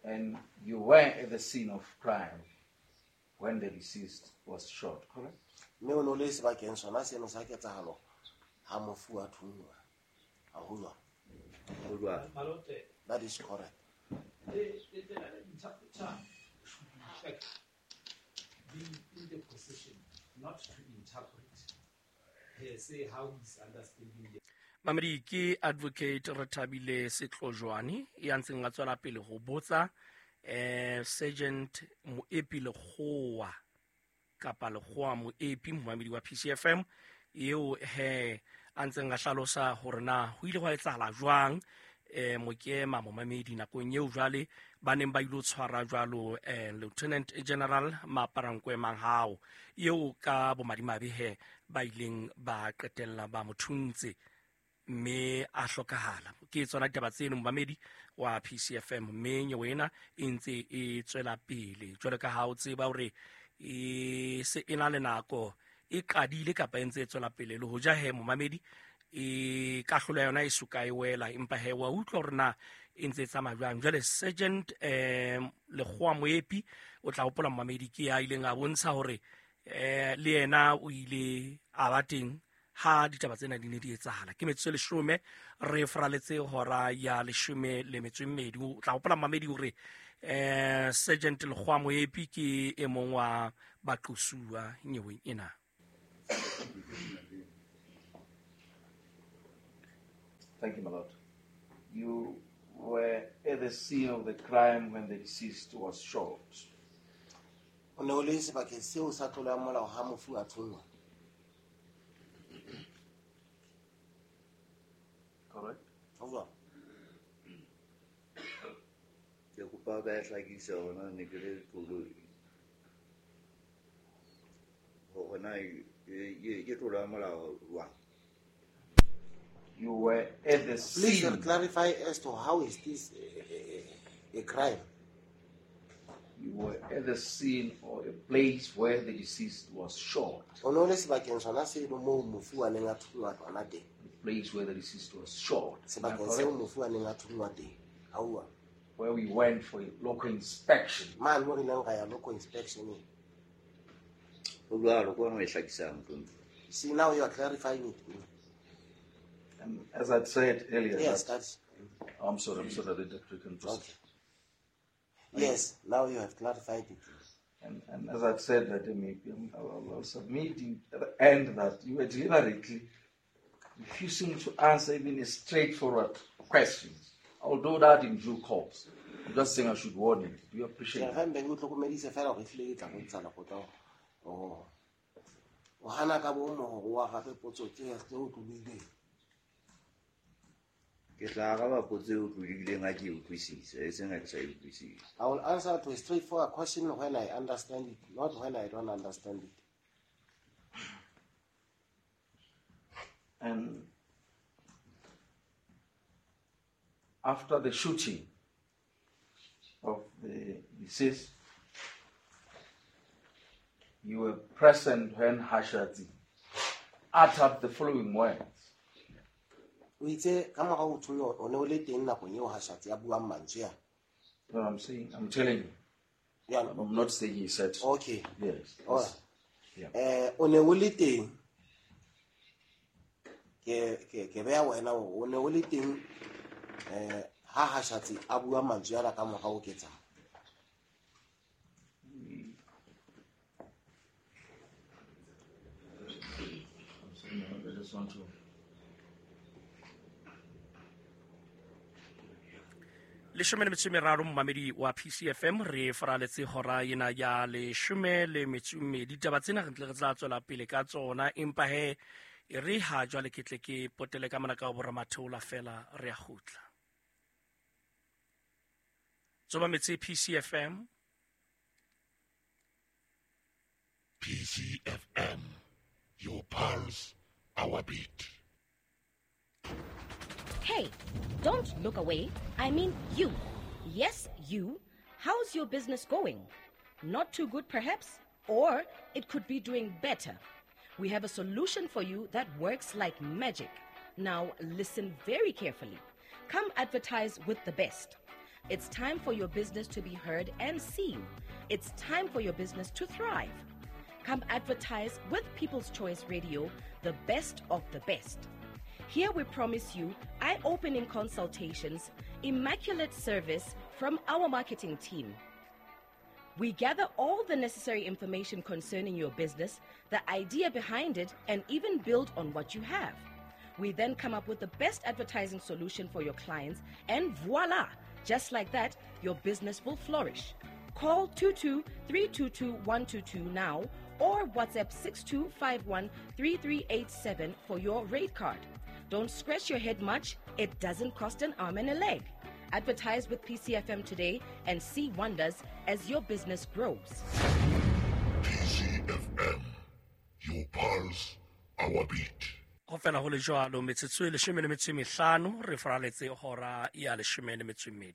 And you were at the scene of crime when the deceased was shot, correct? Mme o ne o le sebakeng sona seno sa ketsahalo ha mofu a thunngwa. Ha ho jwalo? Ho jwalo. My lord, the, That is correct. the learned interpreter should in fact be in the position not to interpret per se how he's understanding the Mamedi ke Advocate Rethabile Setlojwane ya ntseng a tswela pele ho botsa Sergeant Moepi Lekgowa kapa Lekgowa Moepi, momamedi wa PCFM, eo he a ntseng a hlalosa hore na ho ile hwa etsahala jwang Mokema momamedi nakong eo jwale ba neng ba ilo tshwara jwalo Lieutenant General Maaparankoe Mahao, eo ka bomadimabe he ba ileng ba qetella ba mo thuntse mme a hlokahala. Ke tsona ditaba tseno momamedi wa PCFM, mme nyewe ena e ntse e tswela pele jwalo ka ha o tseba hore e se e na le nako e qadile kapa e ntse e tswela pele. Le hoja he momamedi e kahlolo ya yona e soka e wela, empa he wa utlwa hore na e ntse e tsamaya jwang. Jwale Sergeant Lekgowa Moepi o tla hopola momamedi ke ya ileng a bontsha hore le yena o ile a ba teng ha ditaba tsena di ne di etsahala. Ke metsotso e leshome re fraletse hora ya leshome le metso e mmedi. O tla hopola momamedi hore Sergeant Lekgowa Moepi ke e mong wa baqosuwa nyeweng ena. Thank you, my lord. You were at the scene of the crime when the deceased was shot. O ne o le sebakeng seo sa tlolo ya molao ha mofu a thunngwa. Correct? Ho jwalo? Ke kopa ka e hlakisa hore na ne ke le tlolo hore na ke tlolo ya molao jwang. You were at the Please scene. clarify as to how is this a crime. You were at the scene or a place where the deceased was shot. O ne o le sebakeng sona seno moo mofu a neng a thunngwa hona teng. The place where the deceased was shot. Am I Sebakeng seo correct? mofu a neng a thunngwa teng. Aowa. Where we went for a local inspection. Mane mo re ileng ra ya local inspection eng. Ho jwalo, ke hona ho e hlakisang, Mthombo. See, now you are clarifying it. And as I said earlier, Yes, that that's I'm sorry, the doctor can proceed. Okay. Yes, now you have clarified it. And as I've said, that maybe I'll submit you at the end that you were deliberately refusing to answer even a straightforward question. I'll do that in due course. I'm just saying I should warn you. Do you appreciate Ke that? re mbe ke o hlokomedise fela hore ehlile ke tla bontsha lekgotla hore o hana ka bomo hore o arabe potso tse otlolohileng. Ke tla araba potso e otlolohileng ha ke e utlwisisa, e seng ha ke sa e utlwisise. I will answer to a straightforward question when I understand it, not when I don't understand it. And after the shooting of the deceased, you were present when Hashatsi uttered the following words. O itse ka mora ho thunywa o ne o le teng nakong eo Hashatsi a buang mantswe a. You know what I'm saying? I'm telling you. Yeah. I'm not saying he said. Okay. Yes. All right. Yeah. O ne o le teng. Ke beha wena hore o ne o le teng, ha Hashatsi a bua mantswe ana ka mora ho ketsahalo. I'm sorry, I just want to. Leshome le metso e meraro momamedi wa PCFM, re faraletse hora ena ya leshome le metso e mmedi. Ditaba tsena re ntle re tla tswela pele ka tsona, empa he e re ha jwale ke tle ke potele ka mona ka ho boramatheola fela re a kgutla. Tsoba metse PCFM. PCFM, your pulse, our beat. Hey, don't look away. I mean you. Yes, you. How's your business going? Not too good, perhaps? Or it could be doing better. We have a solution for you that works like magic. Now, listen very carefully. Come advertise with the best. It's time for your business to be heard and seen. It's time for your business to thrive. Come advertise with People's Choice Radio, the best of the best. Here we promise you eye opening consultations, immaculate service from our marketing team. We gather all the necessary information concerning your business, the idea behind it, and even build on what you have. We then come up with the best advertising solution for your clients, and voila! Just like that, your business will flourish. Call 22 322 122 now or WhatsApp 6251 3387 for your rate card. Don't scratch your head much, it doesn't cost an arm and a leg. Advertise with PCFM today and see wonders as your business grows. PCFM, your pulse, our beat. Go fela go le jalo metsotso e 15 re faraletse hora ya 12.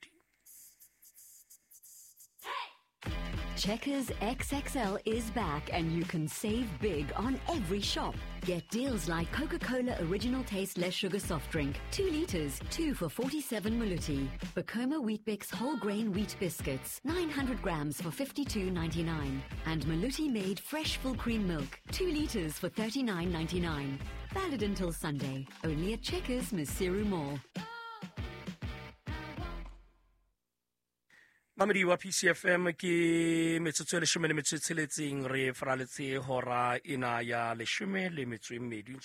Checkers XXL is back and you can save big on every shop. Get deals like Coca-Cola Original Taste Less Sugar Soft Drink, 2 liters, 2 for 47 Maluti. Bacoma Weet-Bix Whole Grain Wheat Biscuits, 900 grams for 52.99. And Maluti Made Fresh Full Cream Milk, 2 liters for 39.99. Valid until Sunday, only at Checkers Maseru Mall. Mamedi wa PCFM ke metsotso e 16 re faraletse hora ena ya 12 ntse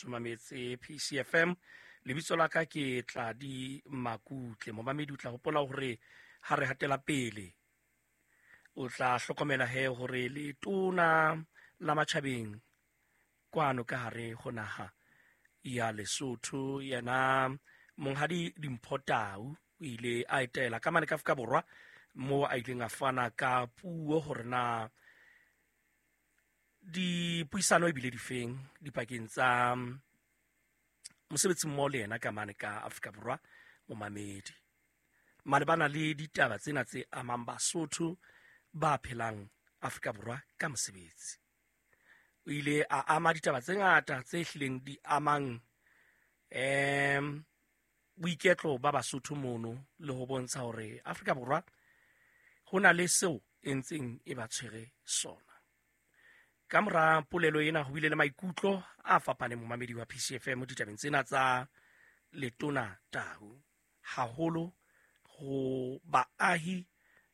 mametse PCFM. Lebitso la ka ke Tladi Makutle. Momamedi o tla hopola hore ha re hatela pele o tla hlokomela he hore letona la matjhabeng kwano ka hare ho naha ya Lesotho yena Monghadi Dimpho Tau o ile a etela ka mane ka Afrika Borwa mo a ileng a fana ka puo hore na dipuisano ebile difeng dipakeng tsa mosebetsi mmoho le yena ka mane ka Afrika Borwa momamedi malebana le ditaba tsena tse amang Basotho ba phelang Afrika Borwa ka mosebetsi. O ile a ama ditaba tse ngata tse hlileng di amang boiketlo ba Basotho mono le ho bontsha hore Afrika Borwa ho na le seo e ntseng e ba tshwere sona. Ka mora polelo ena ho bile le maikutlo a fapaneng momamedi wa PCFM ditabeng tsena tsa Letona Tau, haholo ho baahi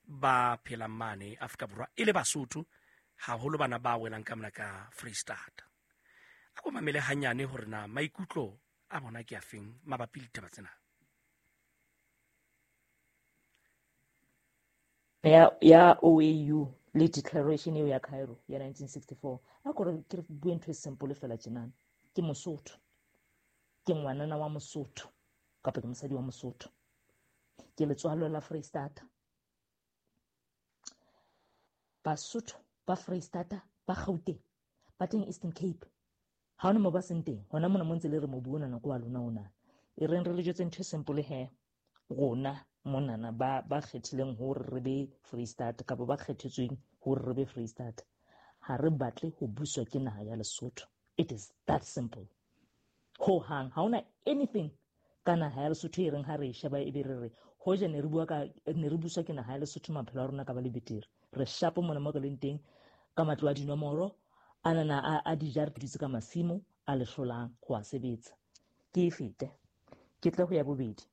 ba phelang mane Afrika Borwa e le Basotho, haholo bana ba welang ka mona ka Free State. A ko mamele hanyane hore na maikutlo a bona ke afeng mabapi le ditaba tsena. Ya OAU le declaration eo ya Cairo ya 1964 a kore ke bue ntho e simple fela tjenana. Ke Mosotho, ke ngwanana wa Mosotho kapa ke mosadi wa Mosotho, ke letswalo la Freistata. Basotho ba Freistata ba Gauteng ba teng Eastern Cape, ha hona mo ba seng teng hona mona mo ntse le re mobu ona nako wa lona ona. E reng re le jwetse ntho e simple he, rona monana ba kgethileng hore re be Free State kapa ba kgethetsweng hore re be Free State, ha re batle ho buswa ke naha ya Lesotho. It is that simple. Ho hang ha hona anything ka naha ya Lesotho e reng ha re e sheba e be re re hoja ne re bua ka ne re buswa ke naha ya Lesotho maphelo a rona ka ba le betere. Re shapo mona mo re leng teng ka matlo a dinomoro a nana a dijara dutse ka masimo a le hlolang ho a sebetsa. Ke e fete ke tle ho ya bobedi.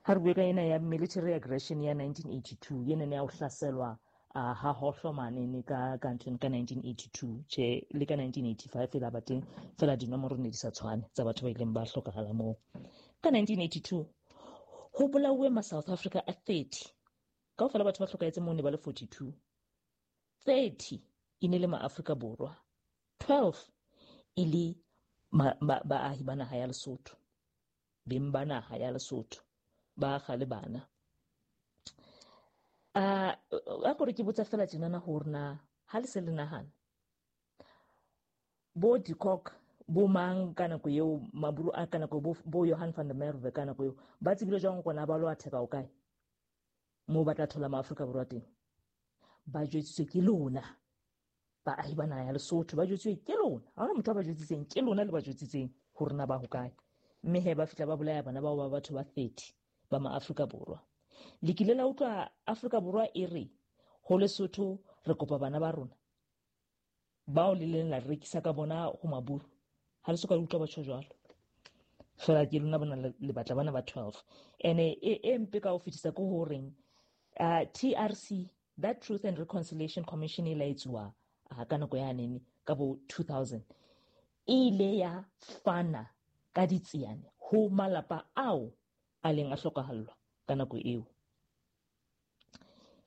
Ha re bue ka ena ya military aggression ya 1982 ena ne ya ho hlaselwa ha hohlo mane ka ka 1982 che le ka 1985 fela ba teng fela dinomoro ne di sa tshwane tsa batho ba ileng ba hlokahala moo. Ka 1982 ho bolauwe ma South Africa a 30 kaofela batho ba hlokahetse moo ne ba le 42, 30 e ne le ma Afrika Borwa, 12 e le baahi ba naha ya Lesotho, beng ba naha ya Lesotho ba kgale bana. A kore ke botsa fela tjenana hore na ha le se le nahana bo de Kock bo mang ka nako eo maburu a ka nako bo Johan van der Merwe ka nako eo ba tsebile jwang hore na ba lo atheka o kae moo ba tla thola ma Afrika Borwa teng? Ba jwetsitswe ke lona baahi ba naha ya Lesotho, ba jwetsitswe ke lona. Ha hona motho a ba jwetsitseng, ke lona le ba jwetsitseng hore na ba hokae. Mme he ba fihla ba bolaya bana bao ba batho ba 30 ba ma Afrika Borwa. Le kile la utlwa Afrika Borwa e re ho Lesotho re kopa bana ba rona bao le leng la rekisa ka bona ho maburu. Ha le soka le utlwa batho jwalo. Fela ke lona bona le batla bana ba 12. Ene e mpe ka ho fetisa ke horeng TRC, that Truth and Reconciliation Commission e la etsuwa ka nako ya nene ka bo 2000, e ile ya fana ka ditsiane ho malapa ao a leng a hlokahallwa ka nako eo.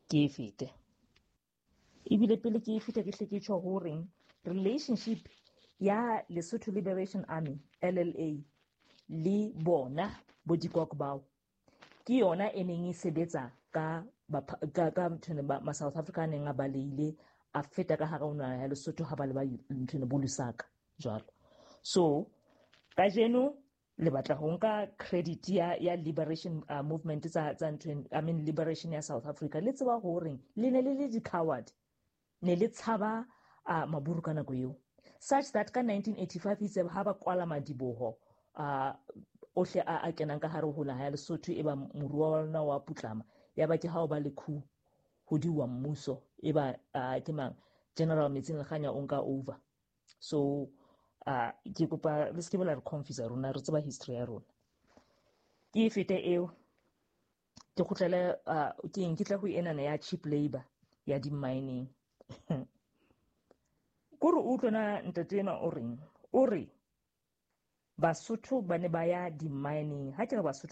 Ke e fete. Ebile pele ke e fete ke hle ke tjho horeng relationship ya Lesotho Liberation Army LLA le bona bo dikok bao ke yona e neng e sebetsa ka ma South Africa neng a baleile a feta ka hara ona ya Lesotho ha ba le ba nthwena bo Lusaka jwalo. So kajeno le batla ho nka credit ya liberation movement tsa nthwena, I mean liberation ya South Africa. Le tseba horeng le ne le le di-coward, ne le tshaba maburu ka nako eo, such that ka 1985 itse ha ba kwala madiboho ohle a kenang ka hare ho naha ya Lesotho, e ba moruo wa lona wa putlama, ya ba ke ha o ba le coup ho diwa mmuso, e ba ke mang General Metsing Lekhanya o nka over. So ke kopa le se ke la re confuse rona, re tseba history ya rona. Ke e fete eo, ke kgutlele ke eng, ke tla ho enana ya cheap labor ya di-mining. Kore o utlwe na ntate enwa o reng, o re Basotho ba ne ba ya di-mining. Ha ke re Basotho